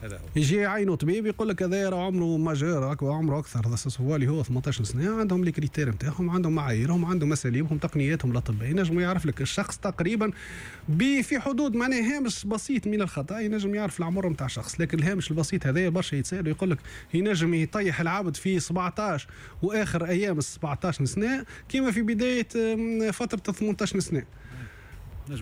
هذا هو. يجي يعينوا طبيب يقول لك هذا راه عمره majeur، عمره اكثر، هو اللي هو 18 سنة. عندهم les critères نتاعهم، عندهم معاييرهم، عندهم اساليبهم، تقنياتهم الاطباء، ينجموا يعرف لك الشخص تقريبا في حدود معناها هامش بسيط من الخطا، ينجم يعرف العمر نتاع الشخص. لكن الهامش البسيط هذا برشا يتسال ويقول لك ينجم يطيح العبد في 17 واخر ايام 17 سنة كما في بداية فترة 18 سنة.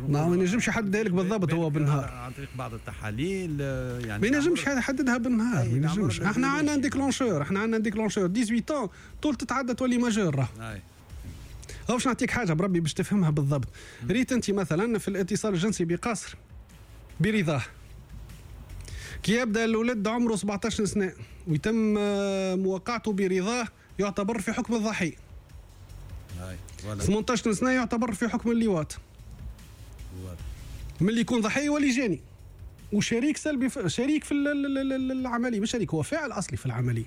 ما ينجمش يحددها لك بالضبط هو بالنهار عن طريق بعض التحاليل، يعني ما ينجمش يحددها بالنهار، ما ينجمش. احنا عندنا déclencheur، احنا عندنا déclencheur 18 طول تتعدى تولي majeur. راه باش نعطيك حاجة بربي باش تفهمها بالضبط. ريت انت مثلا في الاتصال الجنسي بقصر برضاه، كي يبدا الولد عمره 17 سنة ويتم مواقعته برضاه يعتبر في حكم الضحية. 18 سنة يعتبر في حكم اللواط. من اللي يكون ضحية يولي جاني وشريك سلبي، شريك في العملية، مش شريك، هو فاعل اصلي في العملية.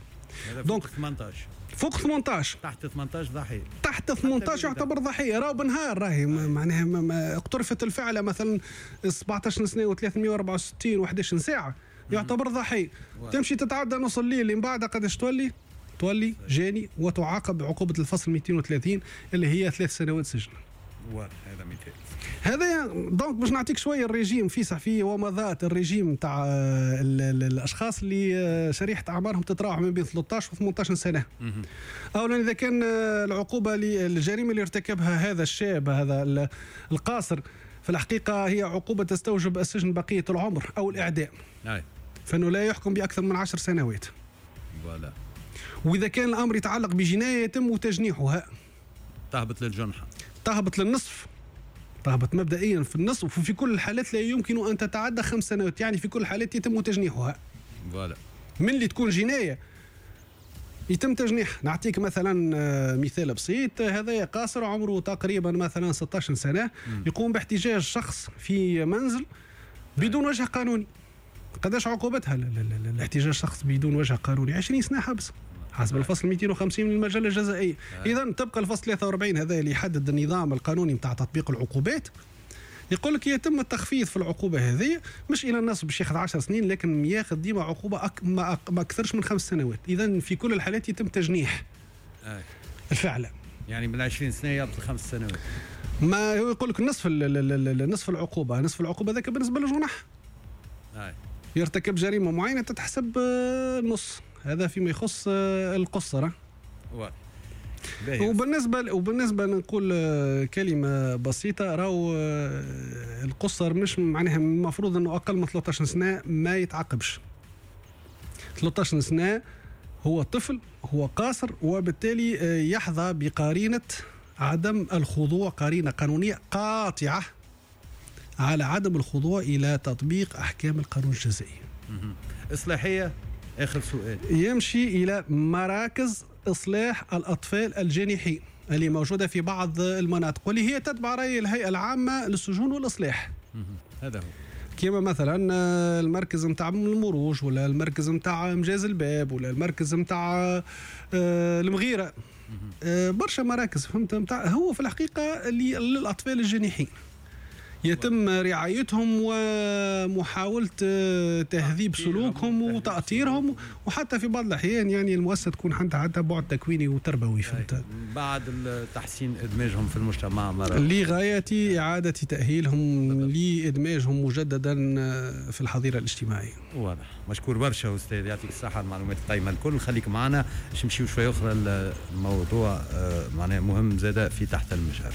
donc 18 فوق 18، تحت 18 ضحية، تحت 18 يعتبر ضحية. راهو بنهار راهي معناها اقترفت الفعلة مثلا 17 سنة و364 و11 ساعة يعتبر ضحية. تمشي تتعدى نص الليل اللي من بعدها قداش تولي؟ تولي جاني وتعاقب بعقوبة الفصل 230 اللي هي 3 سنوات سجن. هذا مثال. هذا donc باش نعطيك شوية الريجيم في صحفي ومضات الريجيم تاع الاشخاص اللي شريحة اعمارهم تتراوح ما بين 13 و 18 سنة. اولا اذا كان العقوبة للجريمه اللي ارتكبها هذا الشاب هذا القاصر في الحقيقة هي عقوبه تستوجب السجن بقية العمر او الاعدام. فانه لا يحكم باكثر من 10 سنوات. voilà. واذا كان الامر يتعلق بجنايه يتم تجنيحها. تهبط للجنحه. تهبط للنصف، تهبط مبدئيا في النصف، وفي كل الحالات لا يمكن ان تتعدى 5 سنوات، يعني في كل الحالات يتم تجنيحها. voilà. من اللي تكون جناية يتم تجنيح. نعطيك مثلا مثال بسيط، هذا قاصر عمره تقريبا مثلا 16 سنة، يقوم باحتجاج شخص في منزل بدون وجه قانوني. قداش عقوبتها الاحتجاج شخص بدون وجه قانوني؟ 20 سنة حبس حسب الفصل 250 من المجلة الجزائية. إذا تبقى الفصل 43 هذا اللي يحدد النظام القانوني نتاع تطبيق العقوبات، يقول لك يتم التخفيض في العقوبة هذه مش إلى النصف باش ياخذ 10 سنين، لكن ياخذ ديما عقوبة ما أكثرش من 5 سنوات. إذا في كل الحالات يتم تجنيح الفعل. يعني من 20 سنة يبطل 5 سنوات. ما هو يقول لك نصف نصف العقوبة، نصف العقوبة ذاك بالنسبة للجنح. يرتكب جريمة معينة تتحسب نص. هذا فيما يخص القصرة. وبالنسبة نقول كلمة بسيطة، راهو القصر مش معناها المفروض انه اقل من 13 سنة ما يتعاقبش. 13 سنة هو طفل، هو قاصر، وبالتالي يحظى بقرينة عدم الخضوع، قرينة قانونية قاطعة على عدم الخضوع إلى تطبيق أحكام القانون الجزائي. إصلاحية. آخر سؤال. يمشي إلى مراكز إصلاح الأطفال الجانحين اللي موجودة في بعض المناطق واللي هي تتبع رأي الهيئة العامة للسجون والإصلاح. هذا هو. كما مثلا المركز متاع المروج، ولا المركز متاع مجاز الباب، ولا المركز متاع المغيرة. برشا مراكز فهمت متاع هو في الحقيقة اللي للأطفال الجانحين يتم رعايتهم ومحاولة تهذيب سلوكهم وتأطيرهم، وحتى في بعض الأحيان يعني المؤسسة تكون عندها بعد تكويني وتربوي، فهمت؟ بعد تحسين إدماجهم في المجتمع مرة لغاية إعادة تأهيلهم لإدماجهم مجددا في الحظيرة الاجتماعية. واضح. مشكور برشا أستاذ، يعطيك الصحة المعلومات القيمة الكل. خليك معنا باش نمشيو شوية أخرى الموضوع معناه مهم زادة في تحت المجهر.